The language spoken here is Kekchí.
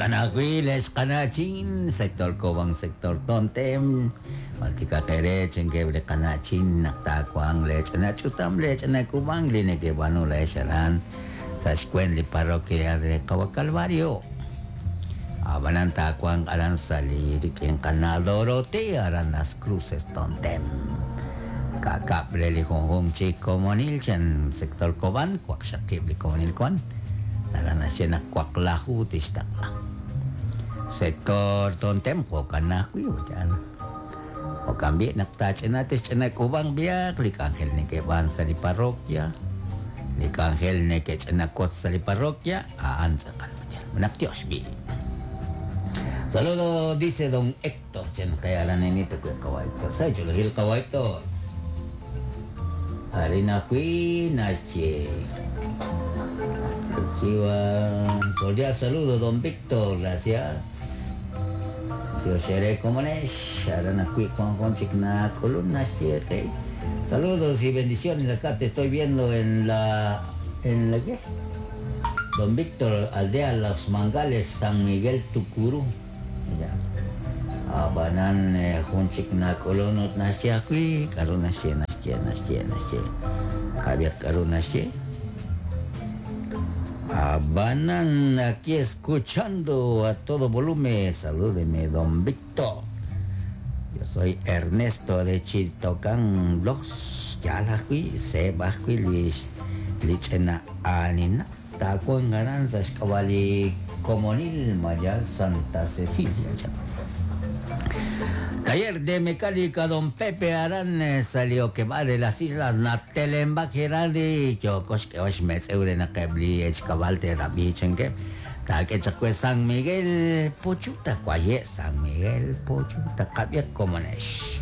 Jo'kan ajwi' le'x qana'chin, sector Cobán, sector Tontem, jultikaq eere chankeb' li qana'chin naq taawanq leech'ina ch'utam, leech'ina k'uub'ank li nekeb'aanu laa'ex aran sa' xweent li parroquia re Qawa' Calvario. Ab'anan taawanq aran sa' li rik'in qana' Dorotea aran Las Cruces, Tontem. Ka'kab' re li junjunq chi komonil chan sector Cobán, waqxaqib' li komonil wan. Aran naxye naq waqlaju tixtaqla. Sector Tontem jo'kan ajwi' chan. Jo'kan b'i' naq taach'ina tixch'ina k'uub'ank b'ihaq li k'anjel neke'b'aan sa' li parroquia, li k'anjel neke'ch'ina wotz sa' li parroquia, a'an tz'aqal chan. Naq tiox b'i'. Saludo, dice don Héctor, chan kaya aran nenito kuya qawa Héctor. Sa chulajil qawa Héctor. Arin ajwi' naxye. Reciba cordial saludo, don Víctor, gracias. Tiox eere komonex, aran ajwi' wan jun chik nak'ulun naxye qe. Saludos y bendiciones, acá te estoy viendo en la... ¿En la qué? Don Víctor, Aldea Los Mangales, San Miguel Tucurú. Ya. Ab'anan jun chik nak'ulun ut naxye ajwi' k'aru naxye, naxye, naxye, naxye. Qab'ihaq k'aru naxye. Ab'anan aquí escuchando a todo volumen, salúdeme don Víctor. Yo soy Ernesto de Chiltocán Los. Yaal ajwi', seeb' ajwi' li li ch'ina aanina. Taawanq aran sa' xk'ab'a' li komonil Mayal Santa Cecilia chan. Taller de mecánica don Pepe aran sa' li okeb'aal re las islas Natelembak Geraldi yooko xk'eeb'al xmetz'ew re naq eb' li echkab'al te'rab'i chankeb'. Taak'e chaq we San Miguel Pochuta, waye' San Miguel Pochuta, qab'ihaq komonex.